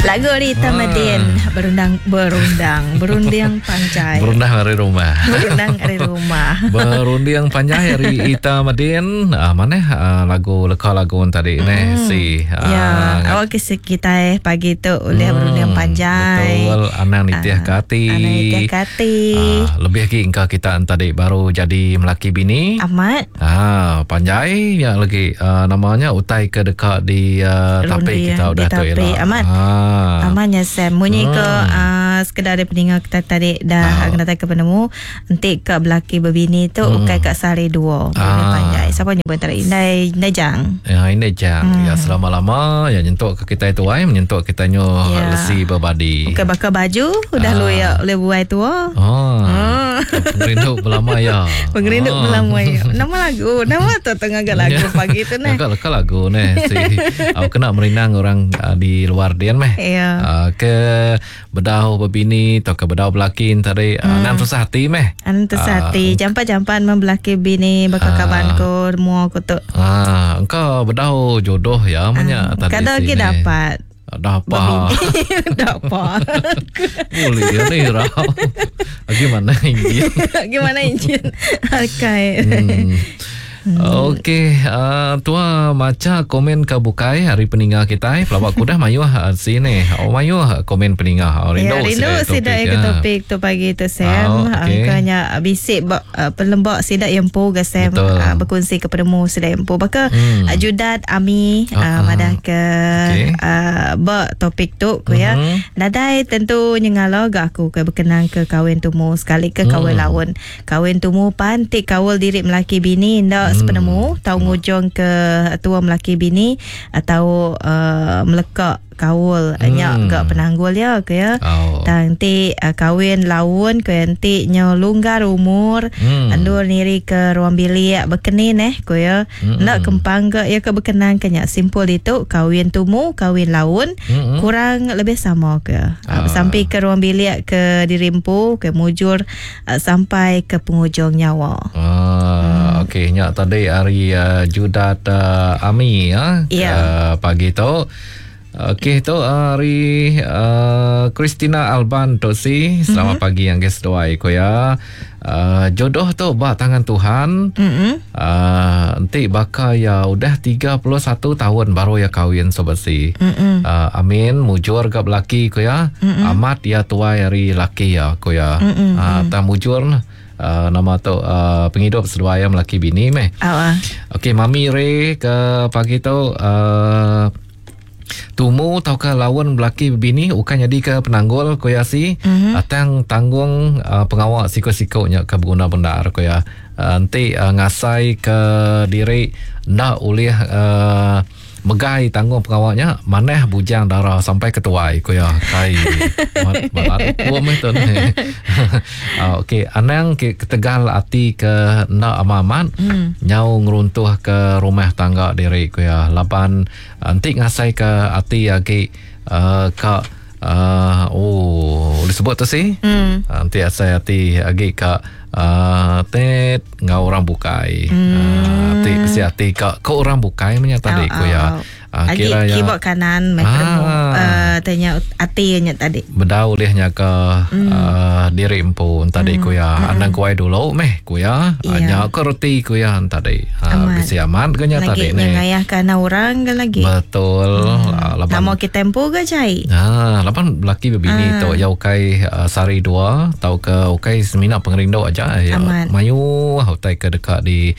Lagu ari Tamadin ah. berundang berundang berunding panjai. Berundang ari rumah. Berundang ari rumah. Berunding panjai ari Ita Madin. Ah, mana ah, lagu leka lagu tadi mm. neh si. Ah, ya, awak ke kita pagi tu oleh hmm, berunding panjai. Betul, anang nitih ke ati. Anang nitih ke ati. Ah, lebih lagi engka kita tadi baru jadi melaki bini. Amat. Ah, panjai nya lagi uh, namanya utai ke deka di uh, tapi kita udah tu ialah. Amat. Ah. Amat nya Sam. Munyi hmm. ke uh, sekedar dari peninga kita tadi dah ah. kena ke penemu enti ke belaki berbini tu hmm. ukai ka sehari dua. Ah. Panjai. Siapa nyebut tadi? Indai indai jang. Ya, indai jang. Hmm. Ya selama-lama ya nyentuk ke kita itu ai menyentuk kita nyo ya. lesi berbadi. Ukai bakal baju udah ah. lu ya boleh buai tua. Oh. Hmm. Pengerindu belama ya. Pengerindu oh. belama ya. Nama lagu, nama tu tengah agak lagu pagi tu neh. Agak leka lagu neh. Si aku kena merinang orang uh, di luar dian meh. Ya. Uh, ke bedau bebini atau ke bedau belaki tadi uh, hmm. nang tusah hati meh. Anang tusah hati. Uh, Jampan-jampan membelaki bini bakal uh, kaban ko mua ko tu. Ah, uh, engkau bedau jodoh ya menya uh, tadi. Kadang lagi dapat. Dah apa? Dah apa? Boleh ya ni rau. Gimana injin? Gimana injin? Okay. Hmm. Okey, uh, tua maca komen ke bukai hari peninga kita. Pelawak kudah mayuh uh, sini. Oh mayuh komen peninga. Oh, rindu ya, rindu sida ya ke topik tu pagi tu Sam. Oh, okay. Angkanya bisik uh, pelembak sida yang empu ke Sam uh, berkongsi ke penemu sida yang empu. Baka hmm. uh, Judat Ami uh, uh, madah ke okay. uh, ba topik tu ku ya. Mm-hmm. Nadai tentu nyengala ga aku ke berkenang ke kahwin tumu sekali ke kahwin mm. laun. Kahwin tumu pan ti kaul diri melaki bini enda hmm. sepenemu tau ngujung ke tua melaki bini atau uh, melekak kaul hmm. nya ga penanggul ya ke ya. Oh. Tang ti uh, kahwin laun ke enti nyo lunggar umur hmm. endur niri ke ruang bilik bekeni neh ko ya. Hmm. Enda kempang ga ya ke berkenan ke nya simpul itu kahwin tumu kahwin laun hmm. kurang lebih sama ke. Uh. Sampai ke ruang bilik ke diri empu ke mujur uh, sampai ke penghujung nyawa. Ah, hmm. okey nya tadi hari uh, Judat uh, Ami ya yeah. uh, pagi tu. Okey tu hari uh, Christina Alban tu si. Selamat mm-hmm. pagi yang guys seduai ko ya. Uh, jodoh tu ba tangan Tuhan. Mm-hmm. Uh, enti baka ya udah 31 tahun baru ya kahwin sobat si. Mm-hmm. Uh, amin mujur ga belaki ko ya. Mm-hmm. Amat ya tuai hari laki ya ko ya. Mm-hmm. Uh, tak mujur lah. Uh, nama tu uh, penghidup seduai yang melaki bini meh. Oh, uh. Okey mami Ray ke pagi tu uh, tumu tauka lawan belaki bini bukan jadi ke penanggul ko ya si. Mm-hmm. Atang tanggung uh, pengawak siko-sikonya ke berguna bendar ko ya. Uh, enti uh, ngasai ke diri ndak ulih uh, megai tanggung pengawaknya manah bujang dara sampai ketuai ko ya kai malat hukum itu ni. Uh, okey anang ke ketegal ati ke ndak amat-amat mm. nyau ngeruntuh ke rumah tangga diri ko ya laban enti ngasai ke ati agi uh, ka uh, oh disebut tu si mm. uh, enti asai ati agi ka uh, tet ngau orang bukai. Mm. Uh, ati besi ati ka ke orang bukai menya tadi oh, ko ya. Oh. Uh, Agi kira ya keyboard kanan mai ah. uh, tanya ati nya tadi. Bedau ulihnya ke mm. uh, diri empu tadi Mm. ko ya. Mm. Anang kuai dulu meh ko ya. Yeah. Nya ke reti ko ya tadi. Uh, besi aman ke nya lagi tadi ni. Lagi ngayah orang ke lagi. Betul. Mm. Uh, laban Nama kita empu ke cai? Ah, laban laki bebini Ah. tu ya ukai uh, sari dua tau ke ukai semina pengerindu aja ya. Amat. Mayu utai ke dekat di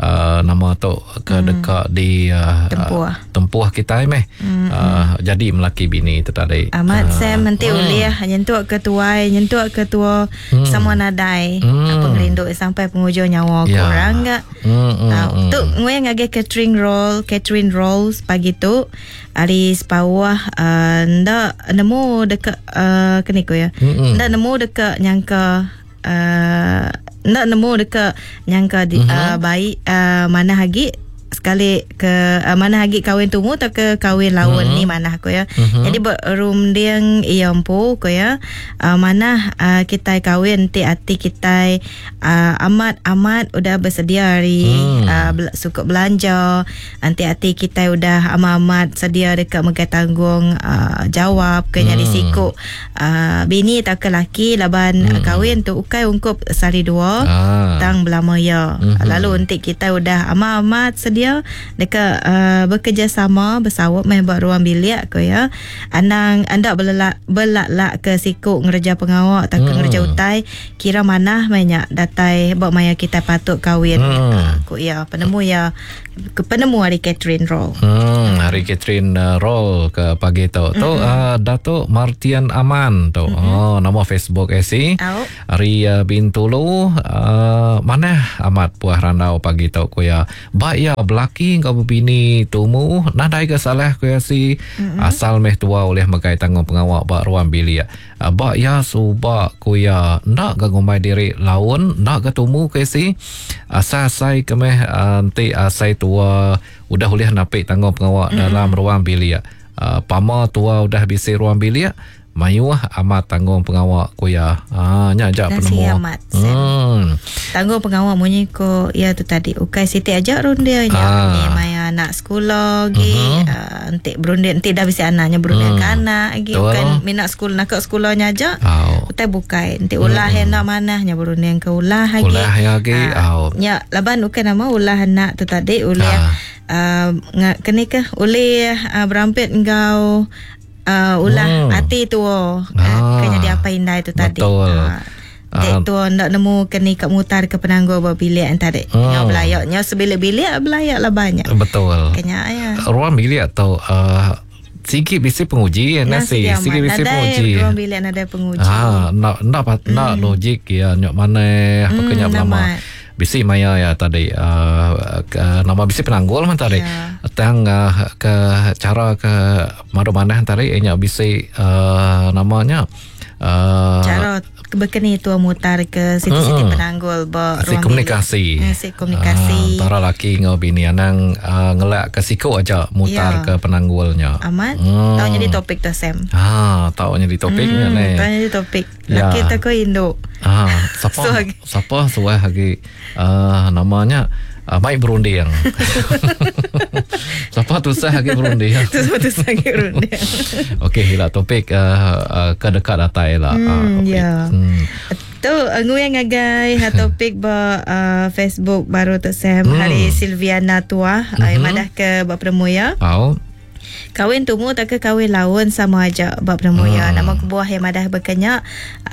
uh, nama tu ke dekat di uh, Tempuh. Uh, tempuh kita meh. Mm. Uh, jadi melaki bini tu tadi. Amat Ah. Sam nanti Hmm. ulih nyentuk ke tuai, nyentuk ke tua Hmm. sama nadai. Hmm. Pengerindu sampai penghujung nyawa Ya. korang gak. Hmm, hmm, Uh, hmm. tu ngui ngagai catering roll, catering rolls pagi tu hari sepawah uh, ndak nemu dekat uh, keni ko ya. Mm-mm. Ndak nemu dekat nyangka uh, ndak nemu dekat nyangka di, Mhm. uh, baik uh, mana lagi sekali ke uh, mana agi kawin tumu atau ke kawin laun mm-hmm. ni mana aku ya. Mm-hmm. Jadi berunding iya empu ku ya. Uh, mana uh, kita kawin ti ati kita uh, amat-amat udah bersedia hari mm. uh, sukup belanja, anti ati kita udah amat-amat sedia dekat megai tanggung uh, jawab ke nyadi mm. siku uh, bini atau ke laki laban mm. kawin tu ukai ungkup sehari dua ah. tang belama ya. Mm-hmm. Lalu untuk kita udah amat-amat sedia dekat uh, bekerjasama bersawap meh buat ruang bilik ko ya. Anang anda belelak belak-lak ke siku ngereja pengawak atau ke ngereja utai kira manah meh nya datai buat maya kita patut kawin mm. uh, ku ya penemu ya ke penemu hari Catherine Roll. Hmm, hari Catherine Roll ke pagi tu. Mm-hmm. Tu uh, Datuk Martian Aman tu. Mm-hmm. Oh, nama Facebook AC. Oh. Hari uh, Bintulu uh, manah amat puah randau pagi tu ku ya. Ba ya belaki kau berbini tumu nadai ke salah ku ya si mm-hmm. asal meh tua oleh megai tanggung pengawak ba ruang bilik. Uh, ba ya suba ku ya ndak ga ngumbai diri laun ndak ga tumu ku si asal-asai ke meh enti uh, asai tua udah ulih napik tanggung pengawak mm-hmm. dalam ruang bilik. Uh, pama tua udah bisi ruang bilik mayuh amat tanggung pengawak ku ya. Ah nya aja penemu. Amat. Hmm. Tanggung pengawak munyi ko ya tu tadi. Ukai siti aja rundia nya. Ah. Ni maya anak sekolah gi uh-huh. uh, entik berunding entik dah bisi anaknya berunding hmm. ke anak gi bukan minat sekolah nak ke sekolahnya aja. Oh. Utai bukai entik ulah hmm. hendak manahnya berunding ke ulah lagi. Ulah ya gi. Uh, oh. Nya laban bukan nama ulah anak tu tadi ulah uh, kene ke oleh uh, berampit engkau uh, ulah hmm. ati tu oh. ah. uh, kena jadi apa indai tu tadi. Betul. Uh, Dek tu ndak nemu keni kat mutar ke penanggul ba bilik yang tadi. Hmm. Ngau belayaknya sebilik-bilik belayak lah banyak. Betul. Kenya ya. Ruang bilik tu uh, sikit bisi penguji ya nasi. Sikit bisi penguji. Ruang bilik nadai penguji. Ah, nak nak nak logik ya nyok mana apa kenya lama. Bisi maya ya tadi uh, ke, nama bisi penanggul man tadi. Yeah. Tang uh, ke cara ke madu manah tadi nya bisi uh, namanya uh, cara berkeni tua mutar ke siti-siti mm, penanggul ba si komunikasi. Si komunikasi. Uh, antara laki ngau bini anang uh, ngelak ke siku aja mutar yeah. ke penanggulnya. Amat. Hmm. Tahu jadi topik tu Sam. Ah, tahu jadi topiknya ni. Tahu jadi topik. Laki yeah. tak ko induk. Ah, siapa siapa suah lagi uh, namanya uh, baik berunding. Siapa tusah lagi berunding. Siapa tusah lagi berunding. Okey, hilah topik uh, uh, ke dekat datai lah. Hmm, ya. Hmm. Tu nguyang ngagai ha topik ba uh, Facebook baru tu Sam hmm. hari Silviana Tuah mm-hmm. uh, madah ke ba penemu ya. Oh. Kawin tumu tak ke kawin laun sama aja bab penemu ya. Nama kebuah yang madah berkenyak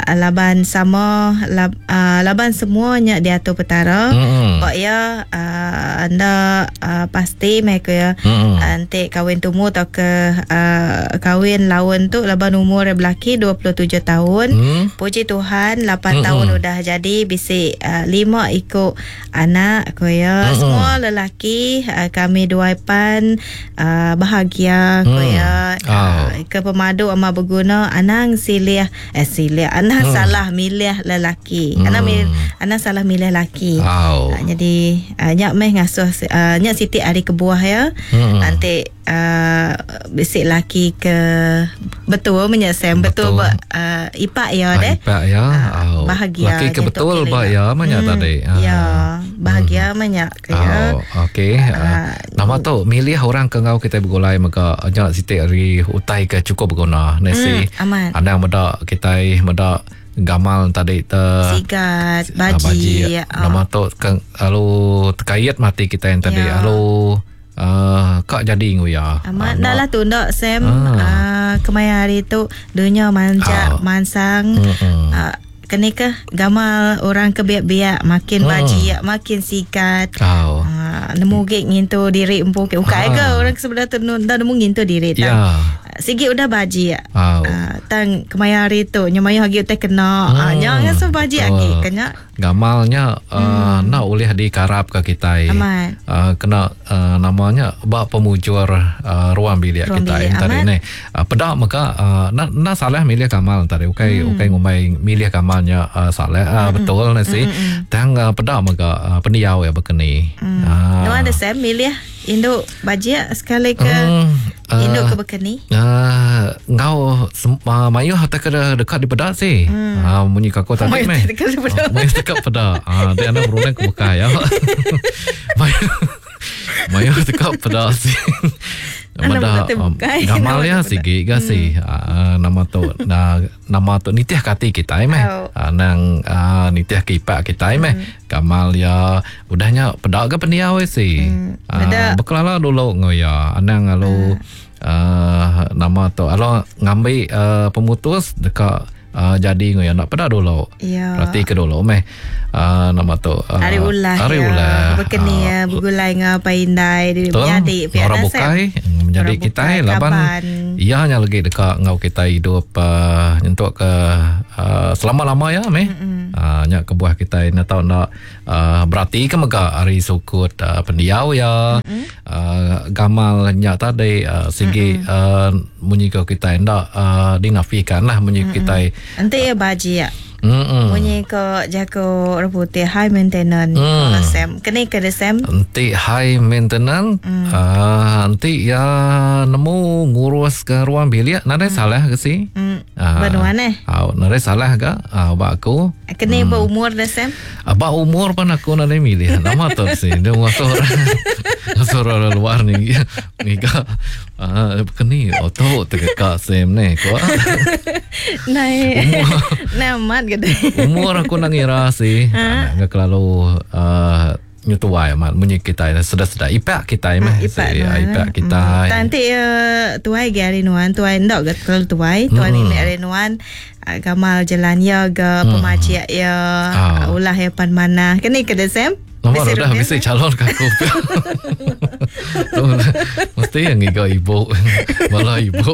laban sama lab, uh, laban semuanya diatur petara. Hmm. Bak ya uh, anda uh, pasti mereka ya hmm. Nanti kawin tumu atau ke uh, kawin laun tu laban umur belaki 27 tahun. Hmm. Puji Tuhan 8 hmm. tahun udah jadi bisi uh, 5 ikut anak ko ya. Hmm. Semua lelaki uh, kami dua pan uh, bahagia ko ya. Oh. Uh, ke pemadu ama berguna anang silih eh silih anang hmm. salah milih lelaki. Hmm. Anang mil, anang salah milih laki. Oh. Uh, jadi uh, nyak meh ngasuh uh, nyak siti hari kebuah ya. Hmm. Nanti uh, bisik laki ke betul menyesem betul, betul uh, ipak ya deh. Ipak ya. Uh, bahagia. Laki ke betul ba ya banyak hmm. tadi. Uh. Ya, bahagia hmm. banyak ke ya. Oh, okey. Uh, nama tu milih orang ke ngau kita bergulai maka nyak siti hari utai ke cukup berguna nasi. Hmm, aman. Andang medak kita medak gamal tadi te sigat baji, baji. Nama tu lalu terkait mati kita yang tadi ya. Lalu uh, kak jadi nguya. Amat dah lah tu ndak Sam uh, kemaya hari tu dunia manja mansang uh, kene ke gamal orang ke biak-biak makin baji makin sikat. Oh. Uh, nemu gek ngintu diri empu ke ukai ke orang sebelah tu dah nemu ngintu diri tak. Ya. Sigi udah bajik. Au. Tang kemaya hari tu nya mayuh agi utai kena. Nya ngasuh bajik agi ke nya. Gamal nya enda ulih dikarap ka kitai. Amat. Kena nama nya ba pemujur ruang bilik Ruang kitai bilik, tadi amat. Neh. Peda mega enda enda salah milih gamal tadi ukai ukai ngumbai milih gamal nya salah betul ne si. Tang peda mega pendiau iya bekeni. Nuan ada Sam milih indu bajik sekali ke indu ke bekeni? Enggau mayuh atau ke dekat dipeda si. Munyi ke aku tadi Mayuh meh. dekat dipeda. Mayuh dekat peda. Dia anda berunding ke bukai ya. Mayuh mayuh dekat peda si. Anda Meda berkata bukai. gamal Nama ya tu peda. sigi ga si. Nama tu nama tu nitih ke ati kitai meh. Au. Nang nitih ke ipak kitai meh. Gamal ya udah nya peda ke pendiau si. Peda. Bekelala dulu ngau ya. Anang lalu nama tu alo ngambi pemutus deka jadi ngau ya nak peda dulu. Ya. Perhati ke dulu meh. Nama tu Hari ulah hari ya. ulah. Bekeni ya begulai ngau apai indai diri Betul. menyadi pia Orang dah, Sam. bukai menjadi Orang kita bukai, laban kaban. iya nya lagi deka ngau kita hidup nyentuk ke selama-lama ya meh. Nya kebuah kita nak tahu nak berarti ke mega hari sukut pendiau ya. Gamal nya tadi sigi munyi ke kita ndak dinafikan lah munyi kita. Enti ya bajik. Munyi ko jago orang putih high maintenance. Sam. Kene ke de Sam? Enti high maintenance, enti ya nemu ngurus ke ruang bilik nadai salah ke si? Benuan eh. Nadai salah ke ba aku. Kene berumur de Sam? Ba umur pun aku nadai milih. Nama tu si. Dia ngatur. Ngatur orang luar ni. Ngiga keni auto tegak Sam ni ko. Nai. Nai amat gede. Umur aku nak ngira si. Nak kelalu nyutuai amat munyi kita sedar-sedar ipak kita meh Ipak si, nuan, ipak eh. kita. Nanti tuai ge hari nuan, tuai ndok ge terlalu tuai, tuai ni hari nuan gamal jalan ya ge pemajik ya ulah ya pan mana. Kene ke de Sam? Nomor Bisi dah rutin, bisi eh? calon ke aku. Tu, mesti yang ngiga ibu. Bala ibu.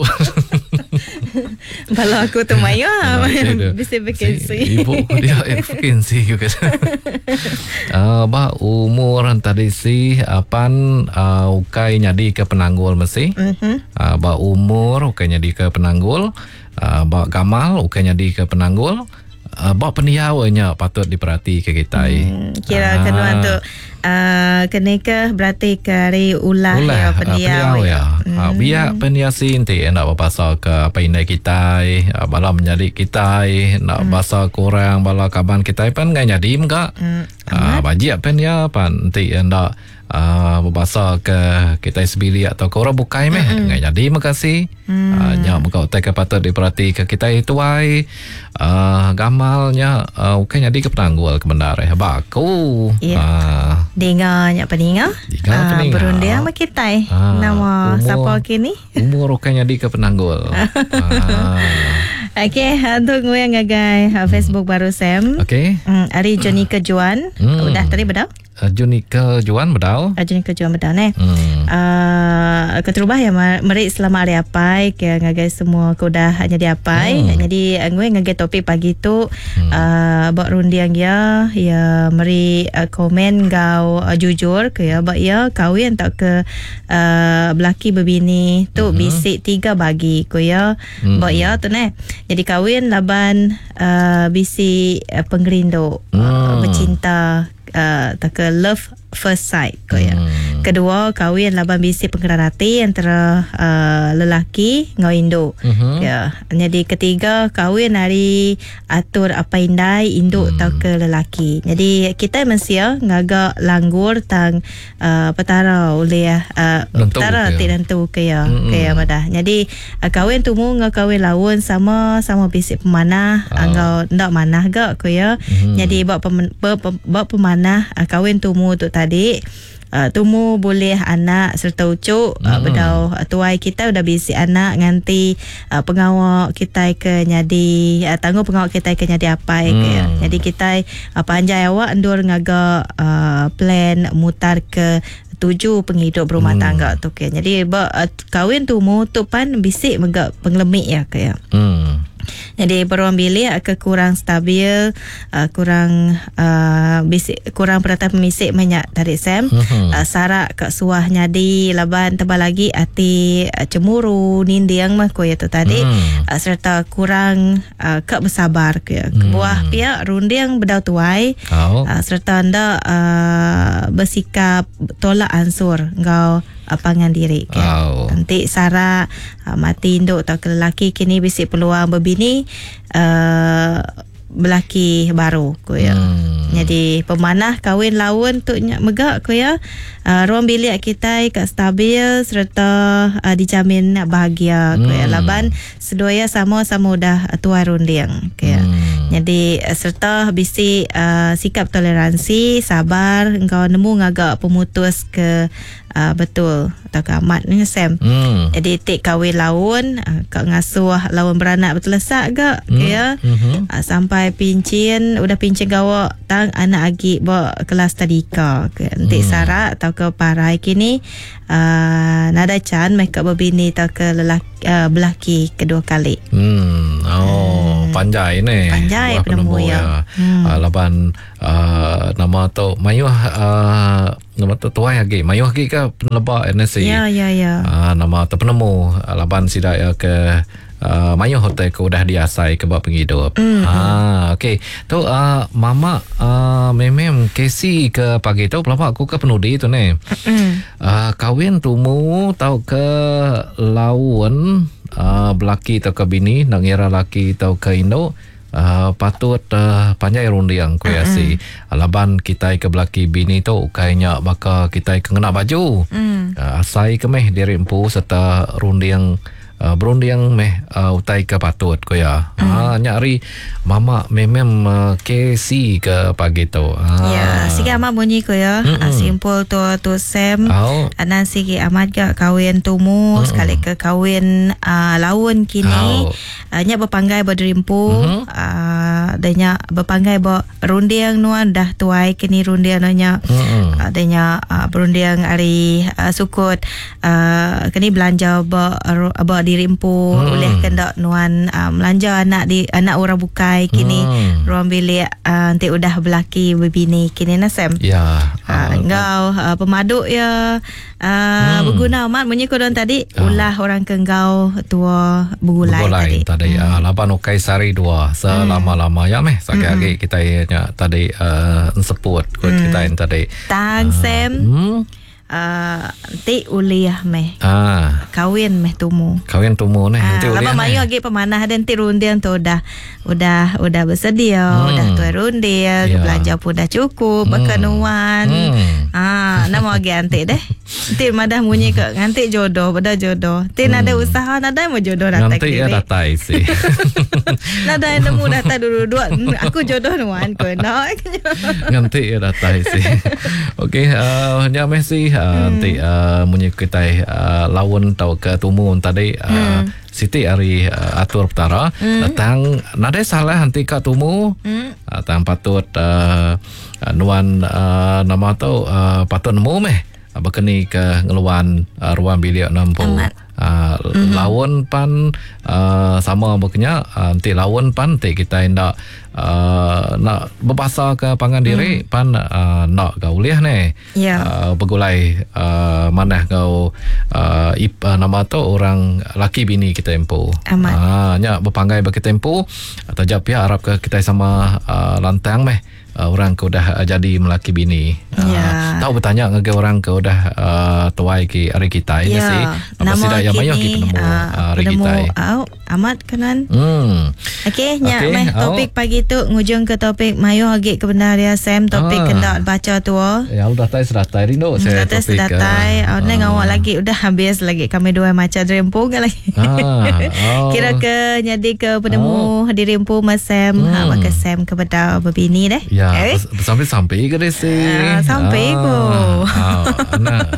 Bala aku tu mayu Okey dia. bisi vacancy. Si, ibu dia vacancy juga. Bah umur tadi si apan ukai nyadi ke penanggul mesti. Bah umur ukai nyadi ke penanggul. Bah gamal ukai nyadi ke penanggul. Bah pendiau nya patut diperhati ke kita. Kira kenuan tu kena ke berarti ke hari ulah, Ulah ya pendiau pendiau ya. Biar pendiau si inti nak berbahasa ke apa indai kita, bala menjadi kita, nak bahasa kurang bala kaban kita pan ngai jadi mega. Bajik pendiau pan inti nak berbahasa ke kita sebili atau ke orang bukai meh ngai jadi mega si. Nya mega utai ke patut diperhati ke kita tuai gamalnya bukan jadi ke penanggul ke benar eh. Baku. Ya. Dengar nyak peninga. Dengar peninga. Berunding sama kita. Nama siapa kini? Umur bukan jadi ke penanggul. Okey, untuk gue yang ngagai Facebook baru Sam. Okey. Ari Johnny Kejuan. Udah tadi bedau? Johnny Kejuan bedau. Johnny Kejuan bedau ne. Keterubah ya merik selamat hari apai ke ngagai semua ke udah jadi apai. Jadi gue ngagai topik pagi tu buat rundiang ya ya meri komen gau jujur ke ya bak ya kahwin tak ke belaki berbini tu bisik 3 bagi ko ya bak ya tu ne. Jadi kahwin laban bisik pengerindu bercinta tak ke love first sight ko ya. Kedua kahwin laban bisik pengeran hati antara lelaki ngau induk. Ya. Jadi ketiga kahwin hari atur apa indai induk atau ke lelaki. Jadi kita mensia ngagak langgur tang petara oleh petara ke. ti tentu ke ya ke ya madah. Jadi kahwin tumu ngau kahwin laun sama sama bisik pemanah ngau ndak manah gak ko ya. Jadi bab bab pemanah kahwin tumu tu tadi tumu boleh anak serta ucuk bedau tuai kita udah bisi anak nganti pengawak kita ke nyadi tanggung pengawak kita ke nyadi apai ke ya. Jadi kita panjai awak endur ngagak plan mutar ke tuju pengidup berumah tangga tu ke. Jadi ba kawin tumu tu pan bisi mega pengelemi iya ke ya. Jadi beruang bilik ke kurang stabil, kurang bisi kurang penatai pemisi meh nya tadi Sam. Sarak ka suah nyadi laban tebal agi ati cemburu ninding meh ku iya tu tadi sereta kurang ka besabar ku iya. Kebuah pia runding bedau tuai sereta enda besikap tolak ansur enggau pangan diri ke. Enti sarak mati indu tauka lelaki kini bisi peluang bebini belaki baru ku iya. Nyadi pemanah kawin laun tu nya mega ku iya ruang bilik kitai ka stabil sereta dijamin bahagia ku iya laban seduai iya sama-sama udah tuai runding ku iya. Nyadi sereta bisi sikap toleransi, sabar enggau nemu ngaga pemutus ke Betul tauka amat nya Sam. Jadi ti kawin laun ka ngasuh laun beranak betelesak ga ke ya. Sampai pinchin udah pinchin gawa tang anak agi ba kelas tadika ke. Enti sarak tauka parai kini nadai chan meh ka bebini tauka lelaki belaki kedua kali. Oh panjai neh. Panjai penemu iya. Laban nama tu mayuh Nama tu tuai agi mayuh agi ka peneleba NSC. Ya ya ya. Nama tu penemu laban sida iya ke mayuh utai ke udah diasai ke ba pengidup. Ah okey. Tu mama memem Casey ke pagi tu pelaba aku ke penudi tu neh. Kawin tumu tauka laun belaki tauka bini enda ngira laki tauka indu. Patut panjai runding ku iya si laban kitai ke belaki bini tu ukai nya baka kitai ke ngena baju. Asai ke meh diri empu sereta runding berunding meh utai ke patut ku iya. Nya ari mama memem KC ke pagi tu. Ya sigi amat munyi ku iya simpul tu tu Sam anang sigi amat ga kawin tumu sekali ke kawin laun kini. Nya bepanggai ba diri empu. Dah nya bepanggai ba runding nuan dah tuai ke ni runding nuan nya. Dah nya berunding ari sukut ke ni belanja ba ba diri empu ulih ke enda nuan melanja anak di anak orang bukai kini ruang bilik enti udah belaki bebini kini nah Sam. Ya. Enggau pemadu iya. Beguna amat munyi ku don tadi ulah orang ke enggau tua begulai, begulai tadi. tadi. Laban ukai sehari dua selama-lama ya meh sakit agi kitai nya tadi enseput ku kitai tadi. Tang Sam. Enti ulih meh. Kawin meh tumu. Kawin tumu neh enti ulih. Laban mayuh agi pemanah dia enti runding tu udah udah udah bersedia, udah tuai runding, belanja pun udah cukup baka nuan. Ha, nama agi anti deh. Enti madah munyi ke nganti jodoh, beda jodoh. Enti nadai usaha nadai mo jodoh datai Nganti ya datai si. Nadai nemu datai dulu-dulu aku jodoh nuan ko enda. Nganti ya datai si. Okey, nya meh si enti munyi kitai laun tauka tumu tadi siti ari atur Petara tang nadai salah enti ka tumu tang patut nuan nama tu patut nemu meh baka ni ke ngeluan ruang bilik ne empu. Laun pan sama baka nya enti laun pan enti kitai enda enda bebasa ke pangan diri pan enda ga ulih neh. Begulai manah enggau nama tu orang laki bini kitai empu. Nya bepanggai ba kitai empu taja pia arap ke kitai sama lantang meh orang ke udah jadi melaki bini. Tau betanya ngagai orang ke udah tuai ki ari kitai nya si. Nama sida iya mayuh agi penemu ari kitai. Amat kanan. Okey nya meh topik pagi tu ngujung ke topik mayuh agi ke bendar iya Sam topik ke enda bacha tua. Ya udah datai sedatai rindu saya topik. Datai sedatai oh ngawa lagi udah habis lagi kami dua macha diri empu ga lagi. Kira ke nyadi ke penemu diri empu meh Sam baka Sam ke bedau bebini deh. Ya besampi-sampi ke deh si. Sampi ko. Anak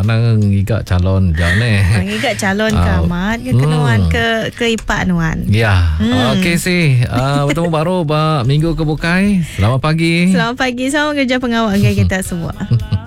anak ngiga calon ja neh. Ngiga calon ke amat ke nuan ke ke ipak nuan. Ya. Okey si. Betemu baru ba minggu ke bukai. Selamat pagi. Selamat pagi. Selamat kerja pengawa ngagai kita semua.